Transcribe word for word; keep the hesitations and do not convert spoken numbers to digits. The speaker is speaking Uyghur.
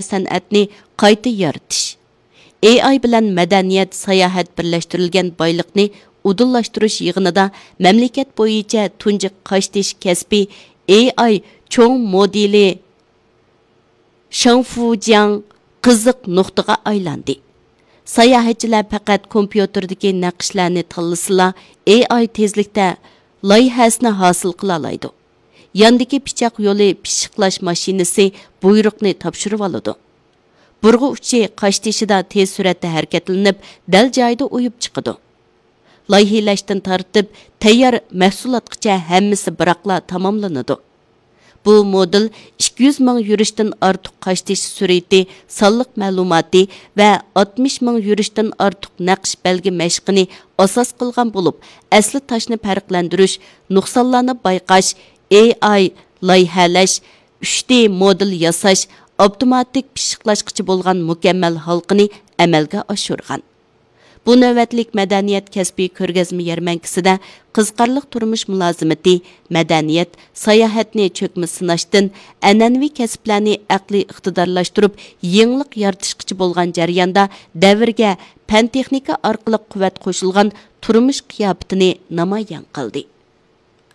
سەنئەتنى قايتا يارىتىش، ئېي ئاي بىلەن مەدەنىيەت، ساياھەت بىرلەشتۈرۈلگەن بايلىقنى ئۇدۇللاشتۇرۇش يىغىنىدا مەملىكەت بويىچە تۇنجى قاشتېشى كەسپى ئېي ئاي چوڭ مودېلى شېڭفۇجياڭ قىزىق نۇقتىغا ئايلاندى. ساياھەتچىلەر پەقەت كومپيۇتېردىكى نەقىشلەرنى تاللىسىلا، ئېي ئاي تېزلىكتە لايىھەسىنى ھاسىل قىلالايدۇ. ياندىكى پىچاق يولى پىششىقلاش ماشىنىسى بۇيرۇقنى تاپشۇرۇۋالىدۇ. بۇرغا ئۇچى قاشتېشىدا تېز سۈرئەتتە ھەرىكەتلىنىپ، دەل جايىدا ئۇيۇپ چىقىدۇ. لايىھىلەشتىن تارتىپ، تەييار مەھسۇلاتقىچە ھەممىسى بىراقلا تاماملىنىدۇ. بۇ مودېل ئىككى يۈز مىڭ يۈرۈشتىن ئارتۇق قاشتېشى سۈرئىتى، سانلىق مەلۇماتى ۋە ئاتمىش مىڭ يۈرۈشتىن ئارتۇق نەقىش بەلگە مەشقىنى ئاساس قىلغان بولۇپ، ئەسلى تاشنى پەرقلەندۈرۈش، نۇقسانلارنى بايقاش، ئېي ئاي لايىھەلەش، ئۈچ دى مودېل ياساش، ئاپتوماتىك پىششىقلاشقىچە بولغان مۇكەممەل ھالقىنى ئەمەلگە ئاشۇرغان. بۇ نۆۋەتلىك مەدەنىيەت كەسپىي كۆرگەزمە يەرمەنكىسىدە قىزىقارلىق تۇرمۇش مۇلازىمىتى، مەدەنىيەت، ساياھەتنى چۆكمە سىناشتىن، ئەنئەنىۋى كەسىپلەرنى ئەقلىي ئىقتىدارلاشتۇرۇپ، يېڭىلىق يارىتىشقىچە بولغان جەرياندا دەۋرگە پەن-تېخنىكا ئارقىلىق قۇۋۋەت قوشۇلغان تۇرمۇش قىياپىتىنى نامايان قىلدى.